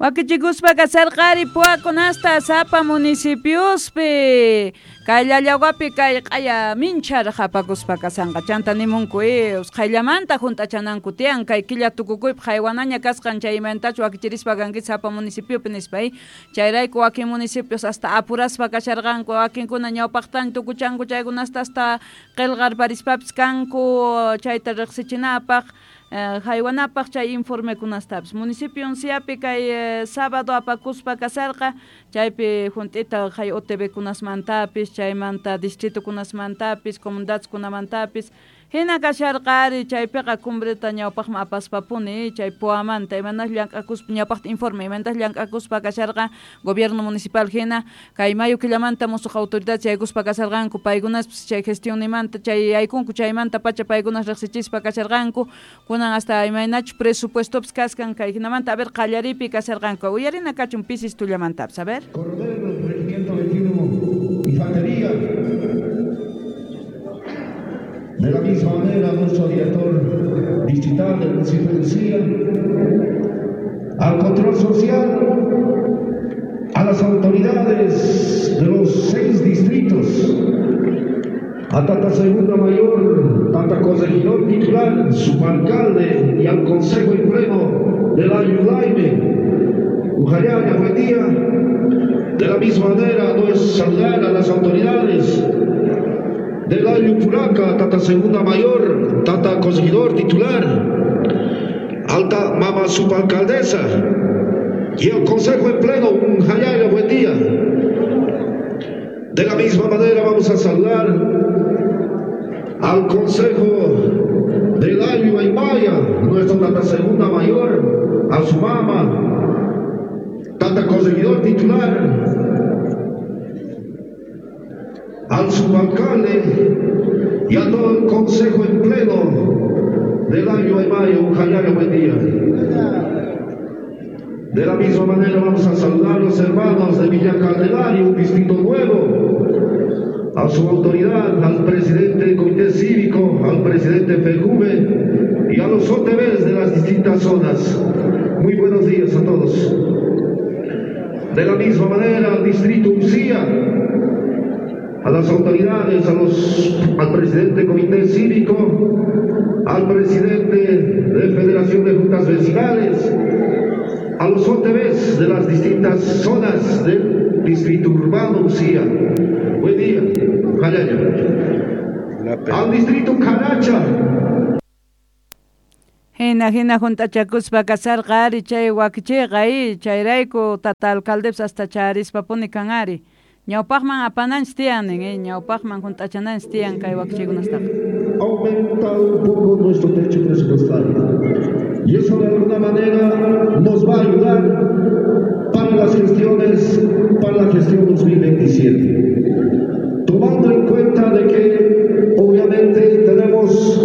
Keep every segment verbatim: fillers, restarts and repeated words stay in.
Wakichikuspa kasarqari puwakunasta sapa municipiospi kay llallawapi kay q'aya mincharaj apakuspa kasanqa chanta nimunku eh usqhayllamanta junt'achananku tiyan kay killa tukukuypi haywanaña kasqan chaymantachu wakichirispa kanki sapa municipiopi nispa eh chayrayku wakin municipios hasta apuraspa kasharqanku wakinkuna ñawpaqtaña tukuchanku chaykunasta hasta qillqarparispapis kanku chayta riqsichinapaq haywanapaq chay informekunastapis municipio Unciapi kay sábado apakuspa kasarqa chaypi junt'ita hay O T V kunasmantapis chaymanta distrito kunasmantapis comunidades kunamantapis hina kasharqari chaypiqa cumbreta ñawpaqman apaspapuni chay puwamanta imanas llank'akuspa ñawpaqta informe imayntas llank'akuspa kasharqa gobierno municipal hina kay mayo killamanta musuq autoridad chaykuspa kasharqanku paykunaspis chay gestionimanta chay aykunku chaymanta pacha paykunas riqsichispa kasharqanku kunan hasta imaynachu presupuestopis kaskan kay hinamanta a ver qallaripi kasharqanku uyarina kachun pisis tullamantapis a ver. Coronel, Regimiento veintiuno, Infantería. De la misma manera, nuestro director distrital del municipio de Uncía, al control social, a las autoridades de los seis distritos, a Tata Segunda Mayor, Tata Corregidor Titular, subalcalde y al Consejo en Pleno de la Ayudaime, Ujayaya, buen día. De la misma manera, no es saludar a las autoridades del Ayu Puraca, Tata Segunda Mayor, Tata Corregidor Titular, Alta Mama Subalcaldesa y el Consejo en Pleno, Ujayaya, buen día. De la misma manera vamos a saludar al Consejo del Ayu Aymaya, nuestro Tata Segunda Mayor, a su mama, Tata Corregidor Titular, al subalcalde y a todo el Consejo en Pleno del Año de Mayo, un buen día. De la misma manera vamos a saludar a los hermanos de Villa Candelaria, un distrito nuevo, a su autoridad, al presidente del Comité Cívico, al presidente Fejuve y a los O T Vs de las distintas zonas. Muy buenos días a todos. De la misma manera al distrito Uncía, a las autoridades, a los, al presidente del Comité Cívico, al presidente de Federación de Juntas Vecinales, a los O T Vs de las distintas zonas del distrito urbano Uncía. Buen día, Jayaya. Al distrito Caracha. Hina hina juntachakuspa kasarqa ari chay wakichiyqa i chayrayku tata alcaldepis hasta charispapuni kan ari. Ñawpaqman apananchis tiyan nin, eh, ñawpaqman junt'achananchis tiyan kay wakichiykunastaqa. Aumentado un poco nuestro techo presupuestario. Y eso de alguna manera nos va a ayudar para las gestiones, para la gestión dos mil veintisiete. Tomando en cuenta de que obviamente tenemos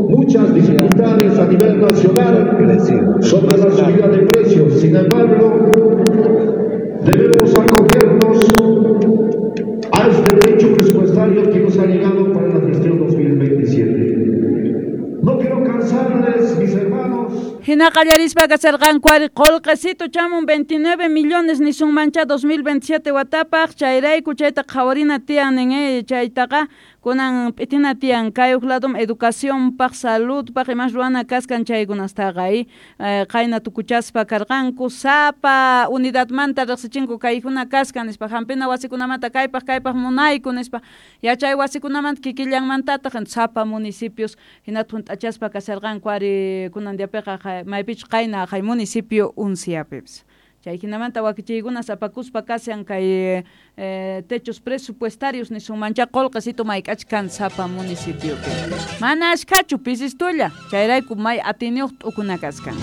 muchas dificultades a nivel nacional sobre la subida de precios. Sin embargo, debemos acogernos a este techo presupuestario que nos ha llegado para la gestión dos mil veintisiete. No quiero cansarles, mis hermanos. Hina qallarispa kasarqanku ari qullqisito chamun veintinueve millones nisunmancha dos mil veintisiete watapaq chayrayku chayta qhawarina tiyan nin eh, chaytaqa kunan p'itina tiyan kay huk ladum educacionpaq saludpaq imas ruwana kaskan chaykunastaqa eh, qayna tukuchaspa karqanku sapa unidadmanta riqsichinku kaykuna kaskan nispa hampina wasikunamanta kaypaq kaypaq munayku nispa yachay wasikunamanta kikillanmantataq sapa municipios hinata junt'achaspa kasarqanku ari kunan diapiqa maypichu qayna hay municipio Unciapipis. Chay hinamanta wakichiykunas apakuspa kashan kay eh, techos presupuestarios nisunmancha qullqisito mayk'achkan sapa municipiopi. Mana ashkhachu pisistulla, chayrayku may atiniyuq t'ukuna kaskan.